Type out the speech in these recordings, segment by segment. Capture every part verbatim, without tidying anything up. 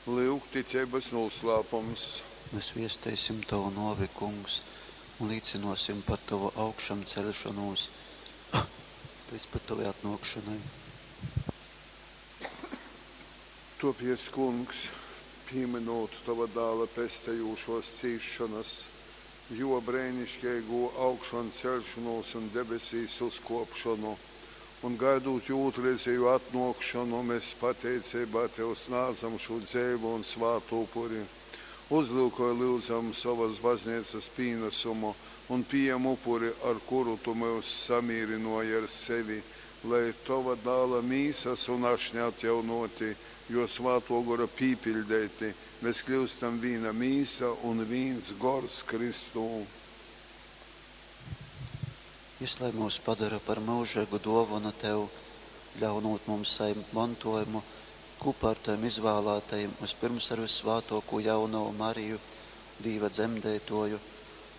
Lyuk, ticeibas nūslāpums. Mēs viesteisim Tovu nōvi, Kungs, un līcynōsim par Tovu augšamceļšonūs līdz pat Tovai atnōkšonai. Tōpēc, Kungs, pīmynūt Tova Dāla pestejūšōs cīsšonas, Jō breiniškeigū augšanceļšonūs un debesīs uzkōpšonu, un gaidūt Jō ūtrreizejū atnōkšonu, mes pateiceibā Tev snādzam šū dzeivu un svātu upuri. Uzlyukoj, lyudzam, sovas Bazneicas pīnasumu un pījem upuri, ar kuru Tu myus samīrynōji ar sevi, lai, Tova Dāla Mīsas un Ašņa atjaunōti, Jō Svātō Gora pīpiļdeiti, mes kļyustam vīna mīsa un vīns gors Kristū. Jys lai myus padora par myužeigu dōvonu Tev, ļaunūt mums sajimt montōjumu kūpā ar Tovim izvālātajim, vyspyrms ar vyssvātōkū Jaunovu Mariju, Dīva dzemdeitōju,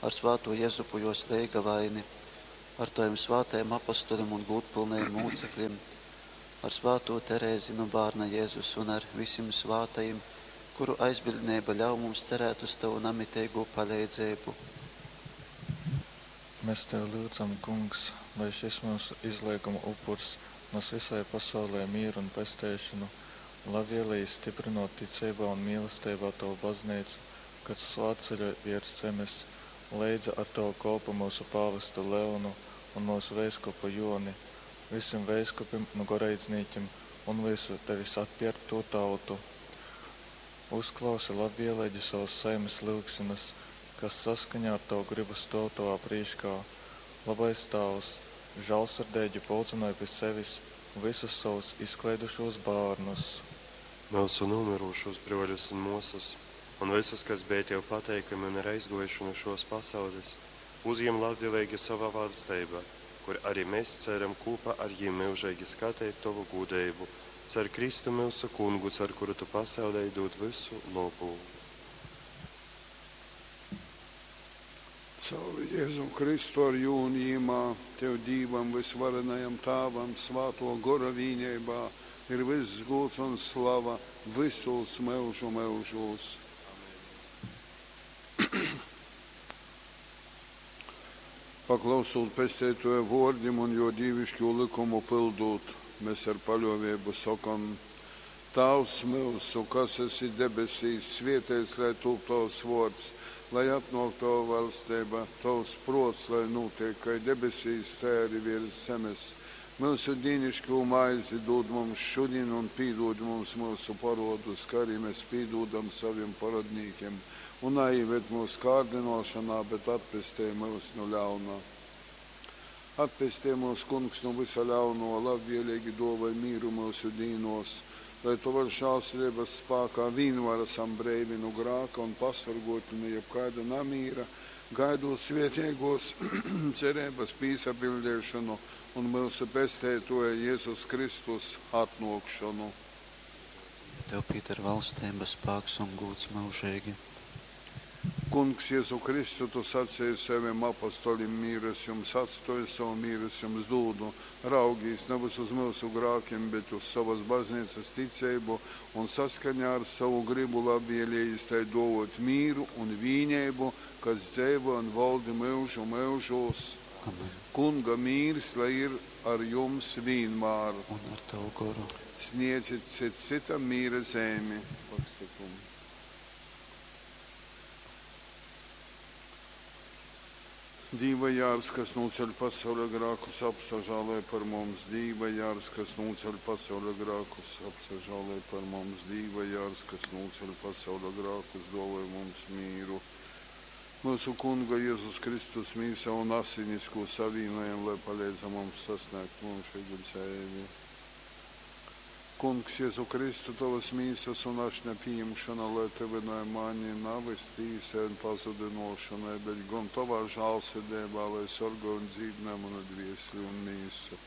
ar svātū Jezupu jōs leigavaini, ar Tovim svātajim apostolim un gūdpylnajim mūceklim, ar svātū Terezi nu Bārna Jezus un ar visim svātajim, kuru aizbiļdneiba ļauj mums cerēt uz Tovu namiteigū paleidzeibu. Mēs Tevi lyudzam, Kungs, lai šis myusu izleiguma upurs nas visai pasaulei mīru un pesteišonu, labvēlīgi stiprinot ticeibā un mīlesteibā Tovu bazneicu, kas svātceļoj viers zemes, leidza ar Tavu kolpu myusu pāvestu Leonu un myusu veiskupu Joni, visim veiskupim un goreidznīkim un visu Tevis atpierktū tautu. Uzklausi labvēlīgi savas saimes lyugšanas, kas saskaņā ar Tavu gribu stōv Tovā prīškā. Labais Tāvs, žālsirdeigi pulcynoj pi sevis visus savus izkleidušos bārnus. Myusu nūmyrušūs brōļus un mōsas, un visus, kas bija Tev pateikami un ir aizgōjuši nu šōs pasaules, uzjem labvēlīgi savā valsteibā, kur arī mēs ceram kūpā ar jim myužeigi skateit Tovu gūdeibu, car Kristu myusu Kungu, car kuru Tu pasaulei dūd vysu lobu. Caur Jēzu Kristu ar jū un jimā, Tev Dīvam vysvarenajam Tāvam, Svātō Gora vīneibā ir vyss gūds un slava vysūs myužu myužūs. Paklausūt Pesteitōja vōrdim un Jō dīviškū lykumu pyldūt, mes ar paļōveibu sokam, Tāvs myusu, kas esi debesīs, svēteits lai tūp Tovs vōrds, lai atnōk Tova vaļsteiba, Tovs prōts lai nūteik kai debesīs, tai ari viers zemes. Myusu dīniškū maizi dūd mums šudin un pīdūd mums myusu parōdus, kai arī mēs pīdūdam sovim parōdnīkim. Un naīved mūsu kārdynōšanā, bet atpestej myus nu ļauna. Atpestej mūs, Kungs, nu vysa ļauno, labvēlīgi dōvoj mīru myusu dīnōs, lai Tovas žālsirdības spākā vienmēr esam breivi nu grāka un pasorgoti nu jebkaida namīra, gaidot svētīgos cerības pīsapildīšanu un myusu Pesteitōja Jēzus Kristus atnōkšonu. Tev pieder valstība, spēks un gūds mūžīgi. Kungs, Jēzu Kristu, Tu sacīji saviem apostolim, mīru es jums atstoju, savu mīru es jums dūdu. Raugīs nevis uz mūsu grākiem, bet uz savas baznīcas ticību un saskaņā ar savu gribu labvēlījis tai dovot mīru un vīnību, kas dzeivo un valdi myužu myužūs. Amen. Kunga mīrs, lai ir ar jums vienmēr. Un ar tavu goru. Sniedzit cits citam mīra zīmi. Pakstikumu. Dīva jārs, kas nūceļ pasaules grākus, apsažāloj par mums. Dīva jārs, kas nūceļ pasaules grākus, apsažāloj par mums. Dīva jārs, kas nūceļ pasaules grākus, dāvoj mums mīru. Mūsu Kunga Jēzus Kristus mīsa un asinis, ko savīnojam, lai palīdz mums sasniegt mūžīgu dzīvi. Kungs, Jēzu Kristu, Tavas mīsas un ašņa pieņemšana, lai tevinoja mani navis tīsai un pazudinošanai, bet gan Tavā žālsirdībā, lai sargā un dzīdinā manu dviesli un mīsu.